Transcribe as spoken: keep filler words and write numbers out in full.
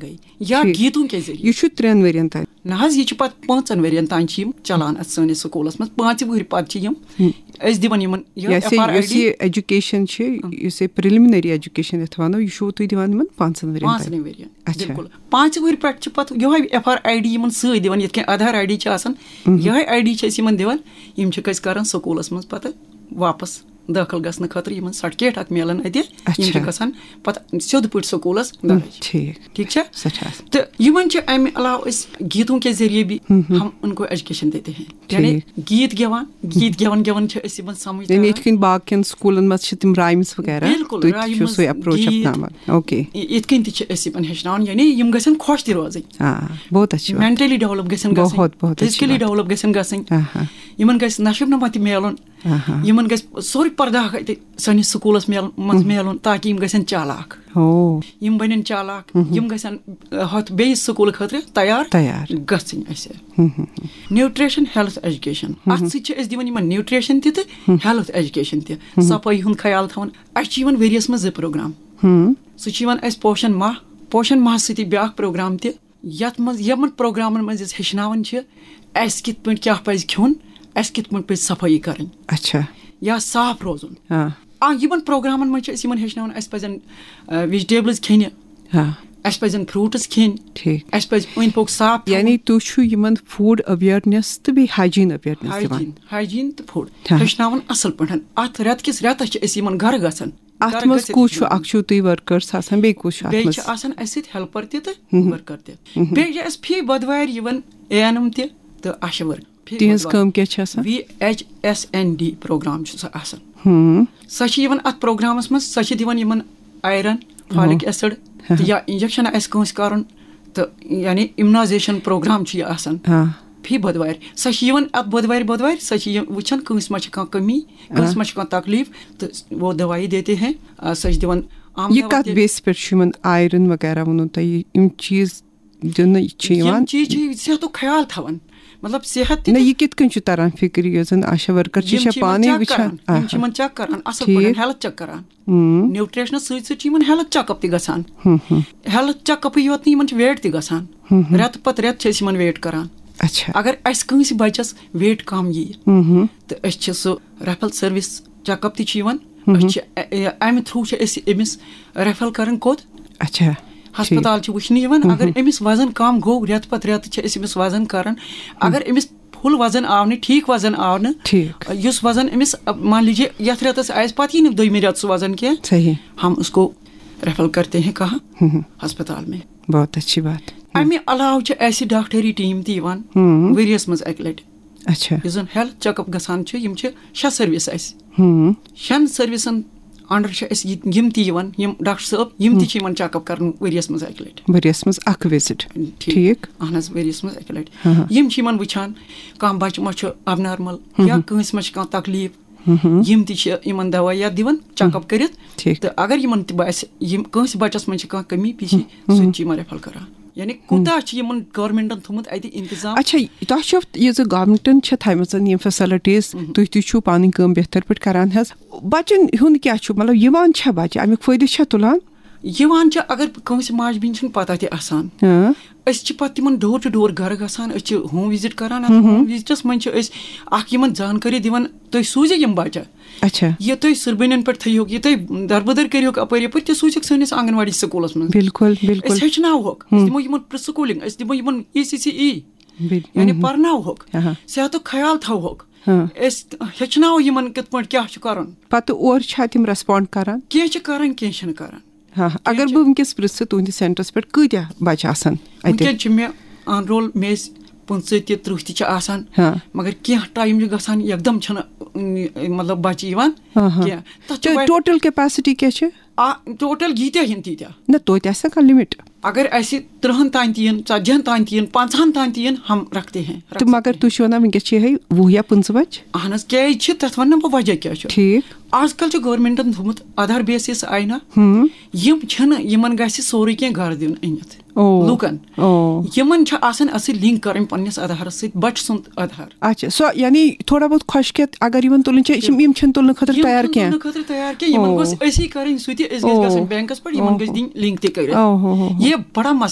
گٔے یا ٹھیٖک۔ گیٖتوں کے ذٔریعہٕ۔ یہِ چھُ ترٛٮ۪ن ؤرین تام۔ نہ حظ، یہِ چھُ پتہٕ پانٛژن ؤرین تام چھِ یِم چلان اتھ سٲنِس سکوٗلس منٛز۔ پانٛژِ وٕہٕرۍ پتہٕ چھِ یِم، ہم۔ أسۍ دِوان یِمن یہِ یۄس یہِ، ایف آر آی ڈی۔ یۄس یہِ ایجوکیشن چھِ، ہم۔ یُس یہِ پریلمنری ایجوکیشن یتھ ونو، یہِ چھُو تُہۍ دِوان یِمن پانٛژن ؤرین تام؟ پانٛژنٕے ؤرین۔ اچھا۔ بِلکُل۔ پانٛژِ وٕہٕرۍ پٮ۪ٹھ چھِ پتہٕ یِہوٚے ایف آر آی ڈی یِمن سۭتۍ دِوان، یِتھ کٔنۍ آدھار آی ڈی چھِ آسان، ہم۔ یِہوٚے آی ڈی چھِ أسۍ یِمن دِوان۔ یِم چھِکھ أسۍ کران سکوٗلس منٛز پتہٕ واپس دٲخل گژھنہٕ خٲطرٕ یِمن سرٹیفکیٹ اکھ میلان اتہِ۔ یِم چھِ اچھا۔ گژھان پتہٕ سیوٚد پٲٹھۍ سکوٗلس ہم، درٕج۔ ٹھیٖک۔ ٹھیٖک چھا؟ سٮ۪ٹھاہ اَصٕل۔ تہٕ یِمن چھِ امہِ علاوٕ أسۍ گیٖتوں کے ذٔریعہٕ بھی ہم، ہم۔ ہم ان کو ایجوکیشن دیتے ہیں۔ یعنی ٹھیٖک۔ گیٖت گٮ۪وان، گیٖت گٮ۪وان گٮ۪وان چھِ أسۍ یِمن سمجھ یعنی تران۔ یِتھ کٔنۍ باقین سکوٗلن منٛز چھِ تِم رایمٕز وغیرہ، بِلکُل، تُہۍ تہِ چھِو رایمٕز، سُے اپروچ گیٖت۔ اپناوان۔ اوکے۔ یِتھ کٔنۍ تہِ چھِ أسۍ یِمن ہیٚچھناوان، یعنی یِم گژھن خۄش تہِ روزٕنۍ۔ آ، بہت اچھی بات۔ مینٹلی ڈیولپ گژھن گژھٕنۍ، بہت، بہت اچھی فزیکلی بات۔ ڈیولپ گژھن گژھٕنۍ۔ آ ہا۔ یِمن گژھِ نشو نما تہِ میلُن۔ آ ہا۔ یِمن گژھِ سورُے پردہ تہِ سٲنِس سکوٗلس میل-، منٛز ہم۔ میلُن، تاکہِ یِم گژھن چالاک۔ او۔ یِم بنن چالاک، ہم۔ یِم گژھن، آ، ہۄتھ بیٚیِس سکوٗلہٕ خٲطرٕ تیار تیار۔ گژھٕنۍ اَسہِ۔ ہم، ہم، ہم۔ نیوٹریشن ہیلتھ ایجوکیشن، ہم۔ اتھ سۭتۍ چھِ أسۍ دِوان یِمن نیوٹریشن تہِ تہٕ ہم۔ ہیلتھ ایجوکیشن تہِ، ہم۔ صفٲیی ہُنٛد خیال تھاوُن۔ اَسہِ چھِ یِوان ؤریَس منٛز زٕ پروگرام۔ ہم۔ سُہ چھُ یِوان اَسہِ پوشن ماہ، پوشن ماہس سۭتی بیٛاکھ پروگرام تہِ، یَتھ منٛز، یِمن پروگرامن منٛز أسۍ ہیٚچھناوان چھِ اَسہِ کِتھ پٲٹھۍ کیٛاہ پَزِ کھیوٚن، اَسہِ کِتھ پٲٹھۍ پَزِ صفٲیی کَرٕنۍ اچھا۔ یا صاف روزُن۔ آ۔ آ، یِمن پروگرامن منٛز چھِ أسۍ یِمن ہیٚچھناوان، اَسہِ پَزن، آ، ویجٹیبلز کھیٚنہِ، آ۔ اَسہِ پَزن فروٗٹس کھیٚنۍ، ٹھیٖک۔ اَسہِ پَزِ أنٛدۍ پوٚک صاف تھاوُن۔ یعنی تُہۍ چھِو یِمن فوڈ اویرنس تہٕ بیٚیہِ ہایجین اویرنس دِوان۔ ہایجین، ہایجین تہٕ فوڈ ہاں۔ ہیٚچھناوان اَصٕل پٲٹھۍ۔ اَتھ رٮ۪تہٕ کِس رٮ۪تس چھِ أسۍ یِمن گرٕ گژھان۔ اَتھ گرٕ منٛز گٔژھِتھ کُس چھُ؟ یِمن اَکھ چھُو تُہۍ ورکرس آسان، بیٚیہِ کُس چھُ اَتھ بیٚیہِ منٛز؟ چھِ آسان اَسہِ سۭتۍ ہیلپر تہِ تہٕ مہم۔ ورکر تہِ۔ مہم۔ بیٚیہِ چھِ اَسہِ فی بۄدوارِ یِوان اے این ایم تہِ تہٕ آشا ورکر۔ فی تِہنٛز بۄدوارِ۔ کٲم کیٛاہ چھِ آسان؟ V H S N D programme چھُ سُہ آسان۔ ہم۔ سۄ چھِ یِوان اَتھ پروگرامس منٛز، سۄ چھِ دِوان یِمن آیرن، فالک ہاں۔ ایسڈ ہاں۔ تہٕ یا انجیکشن آسہِ کٲنٛسہِ کرُن، تہٕ یعنی اِمنایزیشن پروگرام چھُ یہِ آسان۔ ہاں۔ فی بۄدوارِ۔ سۄ چھِ یِوان اَتھ بۄدوارِ، بۄدوارِ، سۄ چھِ یِم وٕچھان کٲنٛسہِ ما چھِ کانٛہہ کٔمی، کٲنٛسہِ ہاں۔ ما چھِ کانٛہہ تکلیٖف، تہٕ وہ دوائی دیتے ہیں۔ آ، سۄ چھِ دِوان عام یہِ دوا کَتھ تہِ۔ بیسہِ پٮ۪ٹھ چھُ یِمن آیرن وغیرہ ووٚنوٕ تۄہہِ، یِم چیٖز دِنہٕ چھِ یِم یِوان؟ چیٖز چھِ صحتُک خیال تھاوان، مطلب صحت تہِ نہ، تہٕ یہِ کِتھ کٔنۍ چھُ تران فِکرِ، یۄس زن آشا ورکر چھِ، یِم چھےٚ چھِ یِمن پانے چیک وٕچھان؟ کران، یِم چھِ آہا۔ یِمن چیک کران اصل ٹھیٖک۔ پٲٹھۍ، ہیلتھ چیک کران۔ ہم۔ نیوٹریشنس سۭتۍ سۭتۍ چھِ یِمن ہیلتھ چیک اپ تہِ گژھان۔ ہم، ہم۔ ہیلتھ چیک اپٕے یوت نہٕ، یِمن چھِ ویٹ تہِ گژھان۔ ہم، ہم۔ رٮ۪تہٕ پتہٕ رٮ۪تہٕ چھِ أسۍ یِمن ویٹ کران۔ اچھا۔ اگر اسہِ کٲنٛسہِ بچس ویٹ کم ییہِ، ہم، ہم۔ تہٕ أسۍ چھِ سُہ ریفل سروس چیک اپ تہِ چھِ یِوان، ہم۔ أسۍ چھِ ا-، ا-، امہِ تھرو چھِ أسۍ أمِس ریفر کران کوٚت؟ اچھا۔ ہسپتال چھِ وٕچھنہٕ یِوان۔ ہم۔ اگر أمِس وزن کم گوٚو، رٮ۪تہٕ پتہٕ رٮ۪تہٕ چھِ أسۍ أمِس وزن کران۔ اگر أمِس فل وزن آو نہٕ، ٹھیٖک وزن آو نہٕ، ٹھیٖک۔ یُس وزن أمِس، مان لیجیے، یتھ رٮ۪تس آسہِ، پتہٕ یی نہٕ دوٚیمہِ رٮ۪تہٕ سُہ وزن کینٛہہ، صحیح۔ ہم اس کو ریفر کرتے ہیں کہاں؟ ہم۔ ہسپتال میں۔ بہت اچھی بات۔ امہِ علاوٕ چھِ اسہِ ڈاکٹری ٹیٖم تہِ یِوان ہم۔ ؤریس منٛز اکہِ لٹہِ۔ اچھا۔ یُس زن ہیلتھ چیک اپ گژھان چھُ، یِم چھِ شےٚ سروس اسہِ۔ ہم۔ شٮ۪ن سروسن انڈر چھِ أسۍ یہِ-، یِم تہِ یِوان، یِم ڈاکٹر صٲب، یِم تہِ ہم۔ چھِ یِمن چیک اپ کران ؤریس منٛز اکہِ لٹہِ۔ ؤریس منٛز اکھ وزٹ۔ ٹھیٖک۔ ٹھیٖک۔ اہن حظ، ؤریس منٛز اکہِ لٹہِ۔ ہاں، ہاں۔ یِم چھِ یِمن وٕچھان، کانٛہہ بچہِ ما چھُ ابنارمل ہم۔ یا کٲنٛسہِ ما چھِ کانٛہہ تکلیٖف، ہم۔ یِم تہِ چھِ یِمن دوا یا دِوان چیک اپ کٔرِتھ۔ ٹھیٖک۔ تہٕ اگر یِمن تہِ باسہِ، یِم کٲنٛسہِ بچس منٛز چھِ کانٛہہ کمی پیٖشی، ہم۔ سُہ تہِ چھِ یِمن ریفر کران۔ یعنی کوٗتاہ چھُ یِمن گورمنٹن تھوٚمُت اتہِ انتظام؟ اچھا، تۄہہِ چھو یہِ زِ گورمنٹن چھِ تھایمژن یِم فیسلٹیز، مہم۔ تُہۍ تہِ چھِو پنٕنۍ کٲم بہتر پٲٹھۍ کران حظ۔ بچن ہُنٛد کیٛاہ چھُ، مطلب، یِوان چھا بچہِ، امیُک فٲیدٕ چھا تُلان؟ یِوان چھِ، اگر کٲنٛسہِ ماجہِ بیٚنہِ چھُنہٕ پتہ تہِ آسان، ہاں۔ أسۍ چھِ پتہٕ تِمن ڈور ٹو ڈور گرٕ گژھان، أسۍ چھِ ہوم وزٹ کران۔ اتھ ہم، ہم۔ ہوم وزٹس منٛز چھِ أسۍ اکھ یِمن زانکٲری دِوان، تُہۍ سوٗزِو یِم بچہِ۔ اچھا۔ یہِ تُہۍ سُربٔنٮ۪ن پٮ۪ٹھ تھٲیہوکھ، یہِ تُہۍ دربٕدر کٔرِہوکھ اپٲرۍ یپٲرۍ، تہِ سوٗزِکھ سٲنِس آنگن واڑی سکوٗلس منٛز۔ بِلکُل، بِلکُل۔ أسۍ ہیٚچھناوہوکھ، أسۍ ہم۔ دِمو یِمن پرٛ سکوٗلِنگ، أسۍ دِمو یِمن ای سی سی ای، بِل-، یعنی ہم۔ پرناوہوکھ، آہا۔ صحتُک خیال تھاوہوکھ۔ ہاں۔ أسۍ ہیٚچھناوو یِمن کِتھ پٲٹھۍ کیٛاہ چھُ کرُن۔ پتہٕ اورٕ چھا تِم ریسپونڈ کران؟ کینٛہہ چھِ کران، کینٛہہ چھِنہٕ کران۔ ہاں، اگر کینٛہہ چھِ بہٕ وٕنکیٚس پرژھٕ، تُہٕنٛدِس سینٹرس پٮ۪ٹھ کۭتیاہ بچہِ آسان اتہِ؟ وٕنکیٚن چھِ مےٚ آن رول مےٚ ٲسۍ پٕنٛژٕہ تہِ، تٕرٛہ تہِ چھِ آسان، ہاں۔ مگر کینٛہہ ٹایم چھُ گژھان، یکدم چھَنہٕ، اۭں، مطلب، بچہِ یِوان، ہاں، ہاں۔ کینٛہہ۔ تَتھ چھُ تہٕ واریاہ ٹوٹل کیپیسٹی کیٛاہ چھِ؟ آ، ٹوٹل ییٖتیٛاہ یِن تیٖتیٛاہ۔ نہ، توتہِ آسہِ نہ کانٛہہ لِمِٹ۔ اگر اَسہِ تٕرٛہَن تام تہِ یِن، ژتجِہَن تام تہِ یِن، پنٛژاہَن تام تہِ یِن، ہم رکھتے ہیں، رکھ تہٕ مگر سکتے ہیں۔ تُہۍ چھِو وَنان وٕنکیٚس چھِ یِہے وُہ یا پٕنٛژٕہ بچہِ؟ اہن حظ، کیٛازِ چھِ تَتھ وَنہٕ نہٕ بہٕ وجہ کیٛاہ چھُ۔ ٹھیٖک۔ آز کل چھُ گورمنٹن تھوٚمُت آدھار بیسس آیہِ نہ، ہم۔ یِم چھِنہٕ، یِمن گژھِ سورُے کینٛہہ گرٕ دیُن أنِتھ۔ او۔ لوٗکن۔ او۔ یِمن چھِ آسان اَسہِ سۭتۍ لِنک کَرٕنۍ پننِس آدھارس سۭتۍ، بچہٕ سُنٛد آدھار۔ اچھا، سۄ یعنی تھوڑا بہت خۄشکیت اگر یِمن تُلٕنۍ چھِ، یِم چھِنہٕ، یِم چھِنہٕ تُلنہٕ خٲطرٕ یِم تیار چھِنہٕ کینٛہہ۔ تُلنہٕ خٲطرٕ تیار کینٛہہ، یِمن او۔ گوٚژھ أسی کَرٕنۍ سُہ تہِ، أسۍ گٔژھۍ او۔ گژھٕنۍ بینکس پٮ۪ٹھ، یِمن او۔ گٔژھۍ دِنۍ لِنک تہِ کٔرِتھ۔ او ہو ہو ہو۔ یہِ بڑا مسلہٕ۔